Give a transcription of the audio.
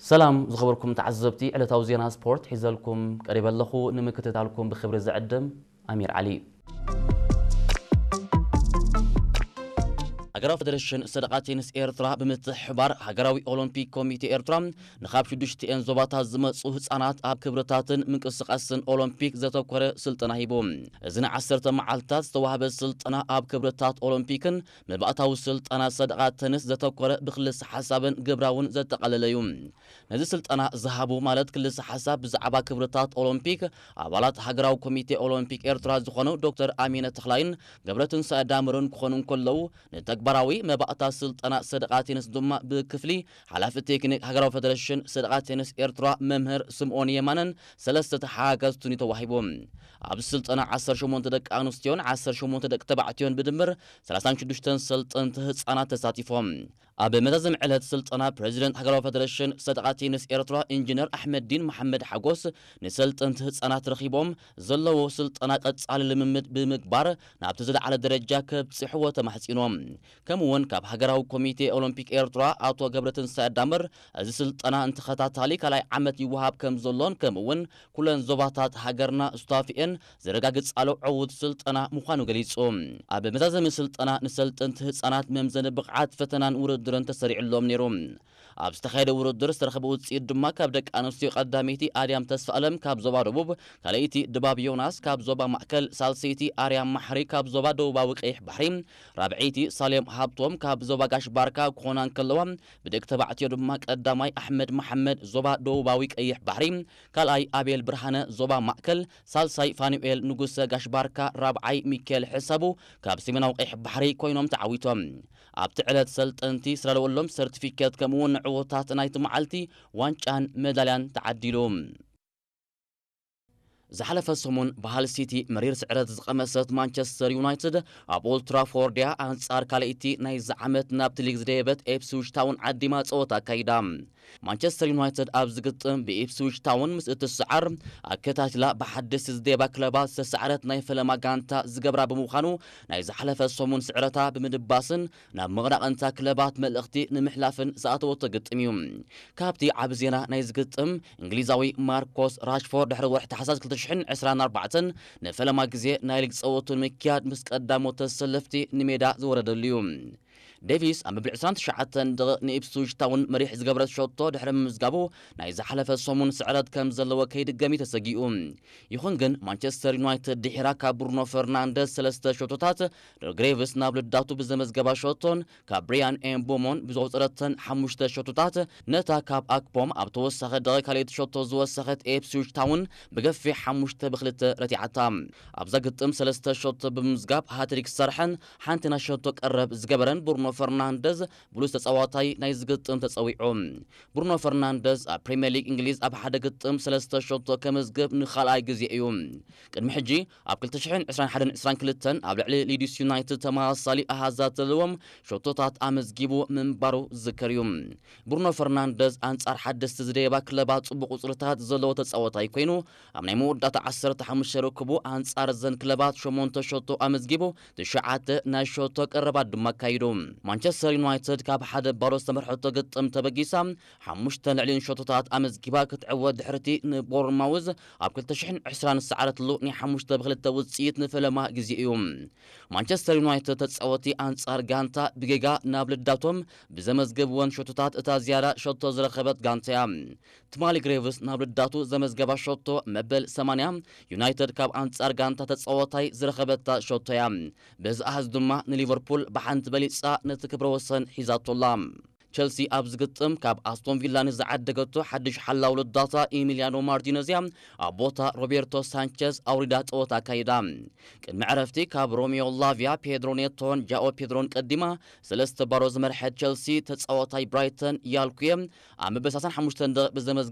ሰላም ዝኸበርኩም ተዓዘብቲ፣ ዕለታዊ ዜና ስፖርት ሒዘልኩም ቀሪበ ኣለኹ። ንምክትታልኩም ብኽብሪ ዝዕድም ኣሚር ዓሊ። ሃገራዊ ፌደሬሽን ሰደቓ ቴኒስ ኤርትራ ብምትሕብባር ሃገራዊ ኦሎምፒክ ኮሚቴ ኤርትራ ንኻብ ሽዱሽቲኤን ዞባታት ዝመጹ ህጻናት ኣብ ክብርታትን ምንቅስቓስን ኦሎምፒክ ዘተኮረ ስልጠና ሂቡ። እዚ ንዓሰርተ መዓልታት ዝተዋህበ ስልጠና ኣብ ክብርታት ኦሎምፒክን መባእታዊ ስልጠና ሰደቓ ቴኒስ ዘተኮረ ብክልሰ ሓሳብን ግብራውን ዘጠቓለለ እዩ። ነዚ ስልጠና ዝሃቡ ማለት ክልሰ ሓሳብ ብዛዕባ ክብርታት ኦሎምፒክ ኣባላት ሃገራዊ ኮሚቴ ኦሎምፒክ ኤርትራ ዝኾኑ ዶክተር ኣሚነ ተኽላይን ገብረትንሳኤ ዳምርን ክኾኑ እንከለዉ፣ ንተግባራዊ መባእታ ስልጠና ሰደቓ ቴኒስ ድማ ብክፍሊ ሓላፊ ቴክኒክ ሃገራዊ ፌደሬሽን ሰደቓ ቴኒስ ኤርትራ መምህር ስምኦን የማነን ሰለስተ ተሓጋገዝቱን እዩ ተዋሂቡ። ኣብዚ ስልጠና ዓሰርተ ሸሞንተ ደቂ ኣንስትዮን ዓሰርተ ሸሞንተ ደቂ ተባዕትዮን ብድምር ሰላሳን ሽዱሽተን ሰልጠንቲ ህጻናት ተሳቲፎም። ኣብ መዛዘሚ ዕለት ስልጠና ፕሬዚደንት ሃገራዊ ፌደሬሽን ሰደቓ ቴኒስ ኤርትራ ኢንጂነር ኣሕመዲን መሓመድ ሓጎስ ንሰልጠንቲ ህጻናት ረኺቦም ዘለዎ ስልጠና ቀጻሊ ልምምድ ብምግባር ናብቲ ዝለዓለ ደረጃ ከብጽሕዎ ተማሕጺኖም። ከምኡ እውን ካብ ሃገራዊ ኮሚቴ ኦሎምፒክ ኤርትራ ኣቶ ገብረትንሳኤ ዳምር እዚ ስልጠና ንተኸታታሊ ካልኣይ ዓመት ይወሃብ ከም ዘሎን ከምኡ እውን ኩለን ዞባታት ሃገርና ሱታፊኤን ዘረጋግጻሉ ዕዉት ስልጠና ምዃኑ ገሊጹ። ኣብ መዛዘሚ ስልጠና ንሰልጠንቲ ህጻናት መምዘኒ ብቕዓት ፈተናን ውድድርን ተሰሪዕሎም ነይሩ። ኣብ ዝተኻየደ ውድድር ዝተረኸበ ውጽኢት ድማ ካብ ደቂ ኣንስትዮ ቀዳመይቲ ኣድያም ተስፋኣለም ካብ ዞባ ደቡብ፣ ካልኣይቲ ድባብ ዮናስ ካብ ዞባ ማእከል፣ ሳልሰይቲ ኣርያም ማሕሪ ካብ ዞባ ደቡባዊ ቀይሕ ባሕሪ፣ ራብዐይቲ ሳሌም ሃብቶም ካብ ዞባ ጋሽ ባርካ ክኾና እንከለዋ፣ ብደቂ ተባዕትዮ ድማ ቀዳማይ ኣሕመድ መሓመድ ዞባ ደቡባዊ ቀይሕ ባሕሪ፣ ካልኣይ ኣቤል ብርሃነ ዞባ ማእከል፣ ሳልሳይ ፋኑኤል ንጉሰ ጋሽ ባርካ፣ ራብዓይ ሚካኤል ሕሳቡ ካብ ሰሜናዊ ቀይሕ ባሕሪ ኮይኖም ተዓዊቶም። ኣብቲ ዕለት ሰልጠንቲ ዝተዳለወሎም ሰርቲፊኬት ከምኡ እውን ንዕወታት ናይቲ መዓልቲ ዋንጫን መዳልያን ተዓዲሉ። ዝሓለፈ ሰሙን ብሃል ሲቲ መሪር ስዕረት ዝቐመሰት ማንቸስተር ዩናይትድ ኣብ ኦልትራፎርድ እያ ኣንጻር ካልኣይቲ ናይዚ ዓመት ናብቲ ሊግ ዝደየበት ኤፕስዊች ታውን ዓዲማ ጸወታ ኣካይዳ። ማንቸስተር ዩናይትድ ኣብ ዝግጥም ብኢፕስዊች ታውን ምስ እትሰዓር ኣከታትላ ብሓደስቲ ዝደየባ ክለባት ዝተሰዓረት ናይ ፈለማ ጋንታ ዝገብራ ብምዃኑ ናይ ዝሓለፈ ሰሙን ስዕረታ ብምድባስን ናብ መቕዳቕንታ ክለባት መልእኽቲ ንምሕላፍን ዝኣተወቶ ግጥም እዩ። ካብቲ ዓቢ ዜና ናይ ዝግጥም እንግሊዛዊ ማርኮስ ራሽፎርድ ድሕሪ ወርሒ ታሕሳስ ክልተ ሽሕን ዕስራን ኣርባዕተን ንፈለማ ግዜ ናይ ሊግ ጸወቱ ንምክያድ ምስ ቀዳሞት ተሰለፍቲ ንሜዳ ዝወረደሉ እዩ። ዴቪስ ኣብ መብልዕ ዕስራን ትሽዓተን ደቂቕ ንኢፕስዊች ታውን መሪሕ ዝገበረት ሸቶ ድሕሪ ምምዝጋቡ ናይ ዝሓለፈ ሰሙን ስዕረት ከም ዘለዎ ከይድገም እዩ ተሰጊኡ። ይኹን ግን ማንቸስተር ዩናይትድ ድሒራ ካብ ብሩኖ ፈርናንደስ ሰለስተ ሸቶታት፣ ግሬቭስ ናብ ልዳቱ ብዘመዝገባ ሸቶን ካብ ብሪያን ኤምቦሞን ብዘቑጸረተን ሓሙሽተ ሸቶታት ነታ ካብ ኣክፖም ኣብ ተወሳኺ ደቂቕ ካልኣይቲ ሸቶ ዝወሰኸት ኤፕስዊች ታውን ብገፊሕ ሓሙሽተ ብክልተ ረቲዓታ። ኣብዛ ግጥም ሰለስተ ሸቶ ብምምዝጋብ ሃትሪክ ዝሰርሐን ሓንቲ ናይ ሸቶ ቀረብ ዝገበረን ብሩኖ ፈርናንደዝ ብሉጽ ተጻዋታይ ናይ ዝግጥም ተጸዊዑ። ብሩኖ ፈርናንደዝ ኣብ ፕሪምየር ሊግ እንግሊዝ ኣብ ሓደ ግጥም ሰለስተ ሸቶ ከመዝግብ ንኻልኣይ ግዜ እዩ። ቅድሚ ሕጂ ኣብ ክልተ ሽሕን ዕስራን ሓደን ዕስራን ክልተን ኣብ ልዕሊ ሊድስ ዩናይትድ ተመሳሳሊ ኣሃዛት ዘለዎም ሸቶታት ኣመዝጊቡ ምንባሩ ዝዝከር እዩ። ብሩኖ ፈርናንደዝ ኣንጻር ሓደስቲ ዝደየባ ክለባት ጽቡቕ ቁጽርታት ዘለዎ ተጻዋታይ ኮይኑ፣ ኣብ ናይ መወዳእታ ዓሰርተ ሓሙሽተ ርክቡ ኣንጻር እዘን ክለባት ሸሞንተ ሸቶ ኣመዝጊቡ፣ ትሽዓተ ናይ ሸቶ ቀረባት ድማ ኣካይዱ። ማንቸስተር ዩናይትድ ካብ ሓደ ባዶ ዝተመርሐቶ ግጥም ተበጊሳ፣ ሓሙሽተ ልዕሊኡን ሸቶታት ኣመዝጊባ ክትዕወት ድሕርቲ ንቦርንማውዝ ኣብ ክልተ ሽሕን ዕስራን ዝሰዓረትሉ ናይ ሓሙሽተ ብክልተ ውጽኢት ንፈለማ ግዜ እዩ። ማንቸስተር ዩናይትድ ተጻወቲ ኣንጻር ጋንታ ብጌጋ ናብ ልዳቶም ብዘመዝገብወን ሸቶታት እታ ዝያዳ ሸቶ ዝረኸበት ጋንታ እያ። ትማሊ ግሬቭስ ናብ ልዳቱ ዘመዝገባ ሸቶ መበል ሰማንያ ዩናይትድ ካብ ኣንጻር ጋንታ ተጻወታይ ዝረኸበታ ሸቶ እያ። በዚ ኣሃዝ ድማ ንሊቨርፑል ብሓንቲ በሊጻ ነቲ ክብረ ወሰን ሒዛቶ ኣላ። ቸልሲ ኣብ ዝግጥም ካብ ኣስቶን ቪላ ንዝዓደገቶ ሓድሽ ሓላው ልዳታ ኢሚሊያኖ ማርቲነዝ እያ ኣብ ቦታ ሮቤርቶ ሳንቸዝ ኣውሪዳ ጸወታ ኣካይዳ። ቅድሚ ዕረፍቲ ካብ ሮሚዮ ላቪያ፣ ፔድሮ ኔቶን ጃኦ ፔድሮን ቀዲማ ሰለስተ ባዶ ዝመርሐት ቸልሲ ተጻዋታይ ብራይተን ያልኩየ ኣብ መበል ሰላሳን ሓሙሽተን ደቂቕ ብዘመዘ